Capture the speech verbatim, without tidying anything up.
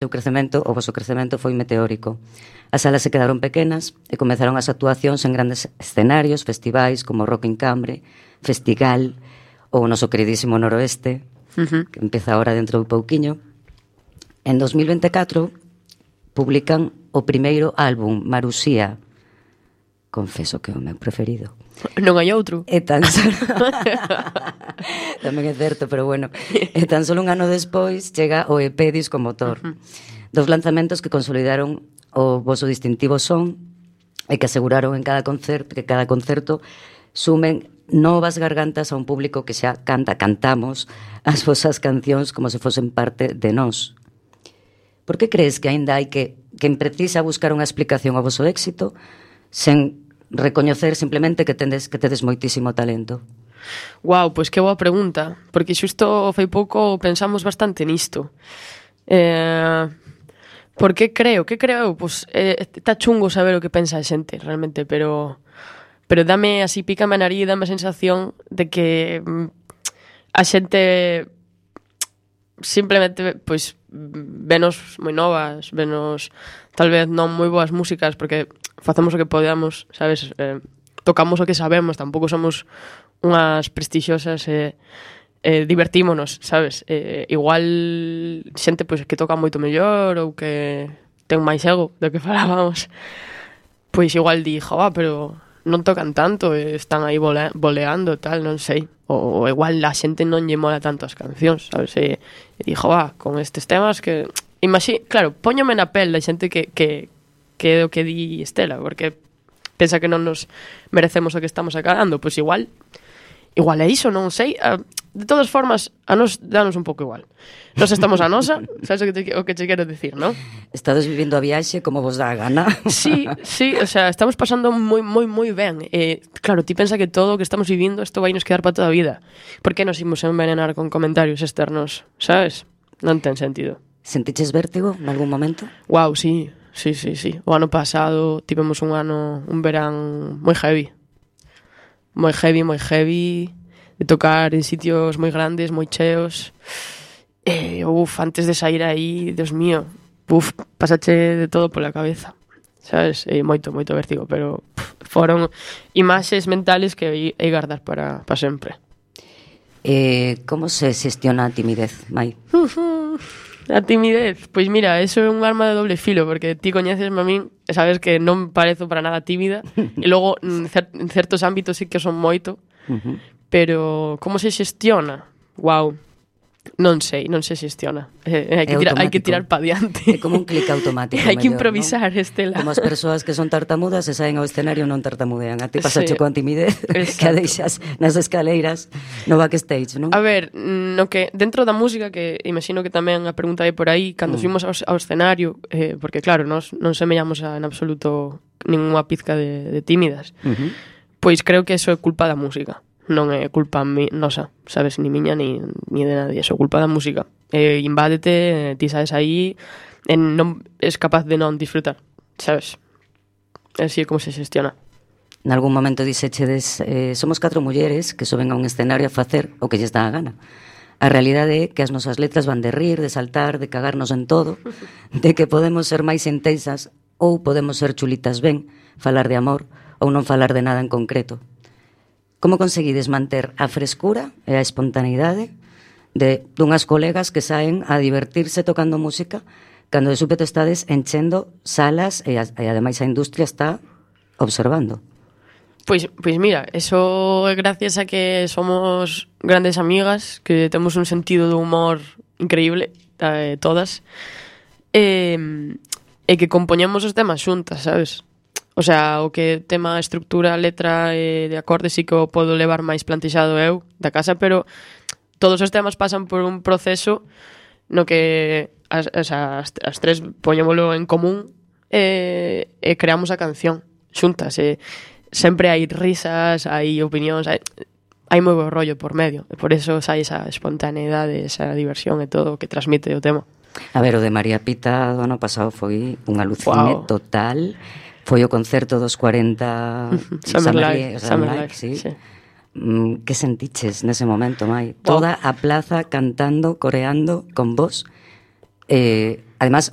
O crecemento, o voso crecemento foi meteórico. As salas se quedaron pequenas e comezaron as actuacións en grandes escenarios, festivais como Rock in Cambre, Festigal ou o noso queridísimo Noroeste, uh-huh. que empeza ahora dentro de pouquiño. En dos mil veinticuatro publican o primeiro álbum, Marusía. Confeso que é o meu preferido. Non hai outro. E tan solo... Tamén é certo, pero bueno. E tan solo un ano despois chega o E P Disco Motor. Uh-huh. Dos lanzamentos que consolidaron o voso distintivo son e que aseguraron en cada concerto, que cada concerto sumen novas gargantas a un público que xa canta, cantamos as vosas cancións como se fosen parte de nós. Por que crees que aínda hai que quen precisa buscar unha explicación ao voso éxito sen recoñecer simplemente que tendes que tedes moitísimo talento? Guau, pois que boa pregunta, porque xusto fai pouco pensamos bastante nisto. Eh, por que creo? Que creo? Pois eh, está chungo saber o que pensa a xente, realmente, pero pero dame así, pícame a nariz, dame a sensación de que mm, a xente simplemente, pois, venos moi novas, venos tal vez non moi boas músicas, porque facemos o que podemos, sabes? Eh, tocamos o que sabemos, tampouco somos unhas prestixiosas e eh, eh, divertímonos, sabes? Eh, igual xente pois que toca moito mellor ou que ten máis ego do que falábamos, pois igual dixo, ah, pero non tocan tanto, e están aí vole- voleando, tal, non sei. Ou, ou igual a xente non lle mola tanto as cancións, sabes? E, e dixo, ah, con estes temas que... Imagí, claro, póñome na pel da xente que, que, que é o que di Estela, porque pensa que non nos merecemos o que estamos acabando, pois igual igual é iso, non sei. De todas formas, a nos danos un pouco igual. Nos estamos a nosa, sabes o que te, o que te quero dicir, non? Estades vivindo a viaxe como vos dá a gana. Sí, sí, o sea, estamos pasando moi, moi, moi ben. Eh, claro, ti pensa que todo o que estamos vivindo isto vai nos quedar para toda a vida. Por que nos imos envenenar con comentarios externos, sabes? Non ten sentido. Sentiches vértigo en algún momento? Guau, sí, sí, sí, sí. O ano pasado tivemos un ano, un verán moi heavy. Moi heavy, moi heavy, de tocar en sitios moi grandes, moi cheos. E, uf, antes de sair aí, Dios mío, uf, pasache de todo pola cabeza, sabes? E moito, moito vértigo, pero pff, foron imaxes mentales que hei, hei guardar para, para sempre. Eh, como se xestiona a timidez, Mai? A timidez, pois mira, eso é un arma de doble filo, porque ti coñecesme a min e sabes que non parezo para nada tímida, e logo en, cer- en certos ámbitos sí que son moito, uh-huh. Pero como se xestiona? Guau, non sei, non se xestiona. Eh, hai, que tira, hai que tirar pa diante. É como un clic automático. Hai que mellor, improvisar, ¿no? Estela. Como as persoas que son tartamudas e saen ao escenario non tartamudean. A ti pasache Sí. coa timidez que a deixas nas escaleiras no backstage, non? A ver, no que dentro da música, que imagino que tamén a pregunta é por aí, cando mm. fuimos ao, ao escenario, eh, porque claro, nos non semellamos a, en absoluto ninguna pizca de, de tímidas, uh-huh. Pois creo que eso é culpa da música. Non é culpa mi, nosa, sabes, ni miña ni, ni de nadie, eso é culpa da música. Eh, invádete, ti sabes aí, e non es capaz de non disfrutar, sabes? Así é como se xestiona. En algún momento dixechedes, eh, somos catro mulleres que soben a un escenario a facer o que lles dá a gana. A realidade é que as nosas letras van de rir, de saltar, de cagarnos en todo, de que podemos ser máis intensas ou podemos ser chulitas ben, falar de amor ou non falar de nada en concreto. Como conseguides manter a frescura e a espontaneidade de dunhas colegas que saen a divertirse tocando música cando de súpeto estades enchendo salas e, a, e ademais a industria está observando? Pois, pois mira, eso é gracias a que somos grandes amigas, que temos un sentido de humor increíble, eh, todas, e, e que compoñemos os temas xuntas, sabes? O sea, o que tema estructura, letra e de acordes sí que o podo levar máis plantexado eu da casa, pero todos os temas pasan por un proceso no que as, as, as, as tres poñémolo en común e, e creamos a canción xuntas. E sempre hai risas, hai opinións, hai, hai moi bo rollo por medio, e por eso sai esa espontaneidade, esa diversión e todo o que transmite o tema. A ver, o de María Pita do ano pasado foi un alucine wow. total. Foi o concerto dos cuarenta Summer Live, Summer Live, sí. sí. Mm, que sentiches nese momento, Mai? Toda a plaza cantando, coreando con vos. Eh, además,